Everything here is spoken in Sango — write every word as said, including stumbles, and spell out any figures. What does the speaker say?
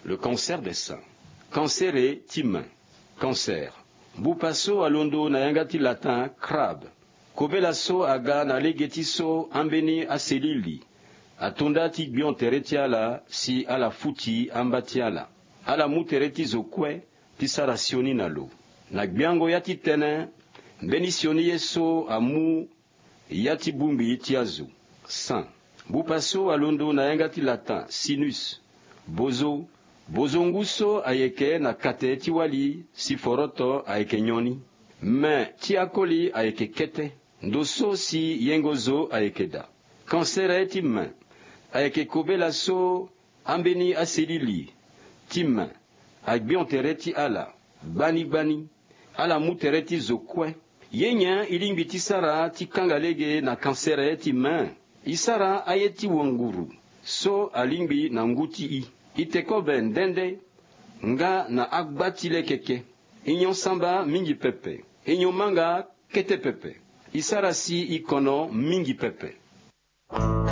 Le cancer des seins. Kansere ti main. Cancer. Bupa so alondo na yanga ti latin crabe. Kobela so aga na lege ti so ambeni aselili atonda ti gbion tere ti ala si ala futi amba ti ala. Ala mu tere ti zo kue ti sara sioni na lo. Na gbiango ya ti tene, mbeni sioni ye so amu ya ti bongbi ti azo. Sang. Bupa so alondo na yanga ti latin sinus. Bozo. Bozo ngu so ayeke na kate ti wali si foroto ayeke nyoni. Me ti akoli ayeke kete. Ndo so si yengo zo ayeke daa. Kansere ti me ayeke kobela so ambeni aselili ti me agbion tere ti ala gbani gbani. Ala mu tere ti zo kue. Ye nyen i lingbi ti sara ti kanga lege na kansere ti me? I sara aye ti wanguru so alingbi na ngu ti i. I tekobe nde nde nga na agba ti lekeke. I nyon samba mingi pepe. I nyon manga kete pepe. I sara si i kono mingi pepe.